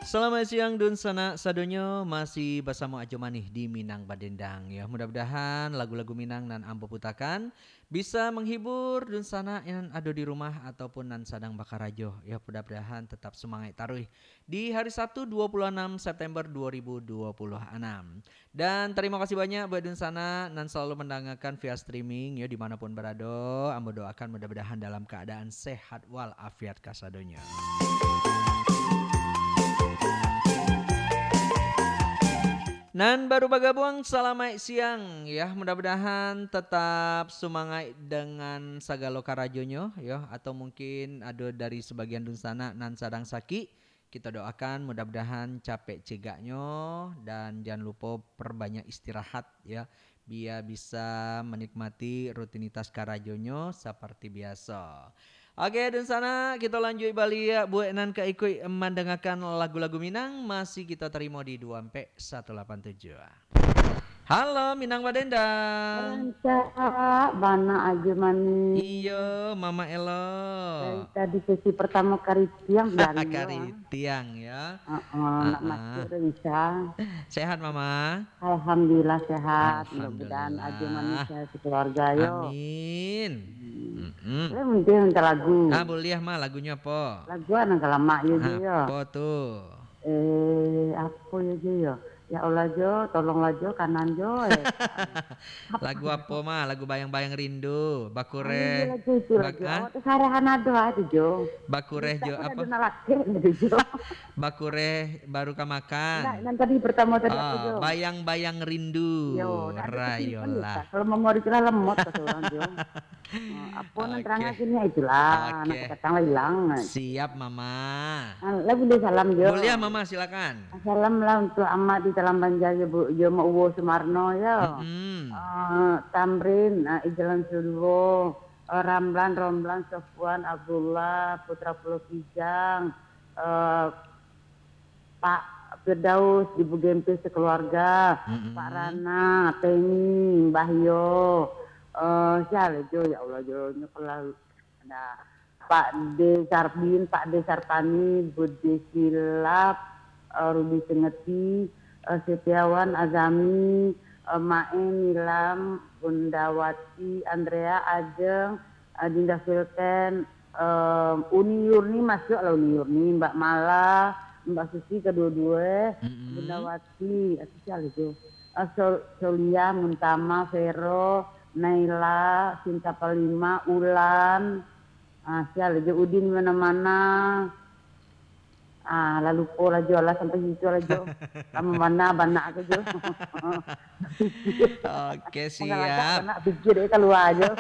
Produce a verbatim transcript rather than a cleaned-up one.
Salamaik siang, dunsanak sadonyo, masih basamo Ajo Manih di Minang Badendang, yo. Mudah-mudahan lagu-lagu Minang nan ambo putakan bisa manghibur dunsanak nan ado di rumah ataupun nan sadang bakarajo, yo. Mudah-mudahan tatap sumangaik taruih di hari Sabtu, dua puluh anam September dua ribu dua puluh anam. Dan tarimo kasih banyak buat dunsanak nan salalu mandangakan via streaming, yo, di mana pun barado. Ambo doakan mudah-mudahan dalam kaadaan sehat wal afiat kasadonyo. Nan baru bagabuang, salamaik siang, ya. Mudah-mudahan tatap sumangaik dengan sagalo karajonyo, yo. Atau mungkin ado dari sabagian dunsanak nan sadang sakik, kito doakan mudah-mudahan capek cegaknyo, dan jan lupo perbanyak istirahat, ya, bia bisa manikmati rutinitas karajonyo saparti biaso. Oke, dunsanak, kito lanjuik baliak buek nan ka ikuik mandangakan lagu-lagu Minang, masih kito tarimo di dua ampek satu lapan tujuh. Halo, Minang Badendang. Rancak bana Ajo Manih. Iyo, Mama Elo. Dari tadi sesi pertama karitiang. Karitiang, ya. Heeh, nak masuk dah bisa. Sehat, Mama? Alhamdulillah sehat. Mudah-mudahan Ajo Manih sehat sekeluarga, yo. Amin. Hmm. Boleh minta lagu? Ah, boleh, Ma. Lagunyo apo? Lagu nan ka lamak, yo, Jo, yo. Apo tu? Eh, apo yo, Jo, yo? Ya Allah, Jo, tolonglah, Jo, kanan, Jo, eh. Lagu apo, Ma? Lagu Bayang-Bayang Rindu, Bakureh. Ah, iyo, lagu itu, lagu. Awak tu sarahan ado aja, Jo. Bakureh, Jo, apo? Nak ado nak lakek, Jo. Bakureh baru ka makan. Nak, nan tadi pertama tadi apo, Jo? Bayang-Bayang Rindu, yo, nak ado kesimpan, Jo, rayolah. Kalau memori tu lah lemot, kata orang, Jo. Ah, apo nan tarang akhirnya itulah, nak datang lah hilang. Siap, Mama. Ah, lah buliah salam, Jo. Buliah, Mama, silakan. Salam lah untuk Amak di Talam Banjar, yo, Bu, yo, Mak Uwo Sumarno, yo. Mm-mm. Ah, Tamrin, ah, Ijlan Suduwo, ah, Ramlan, Romlan, Sofwan, Abdullah, Putra Pulau Kijang, eh, Pak Firdaus di Bugempis sekeluarga, mm-mm, Pak Rana, Teni, Mbah Yo, eh, sia lai, Jo, ya Allah, Jo, nyo kelah. Nah, Pak De Sarbin, Pak De Sarpani, Budi Silap, eh, Rudi Sengeti, eh, Setiawan, Azami, eh, Maeng, Nilam, Bunda Wati, Andrea, Ajeng, eh, Dinda Filten, eh, Uni Yurni, masuak lah Uni Yurni, Mbak Mala, Mbak Susi kaduo-duo, mm-mm, Bunda Wati, eh, sia lai tu. Eh, Sol-, Solia, Muntama, Vero, Naila, Sinta Palima, Ulan, ah, sia lai, Jo, Udin Mana-Mana. Ah, lah lupo lah, Jo, lah sampai situ lah, Jo. Lah mamana-bana ke, Jo. Oke, siap. Nak pikir dek kalua, Jo.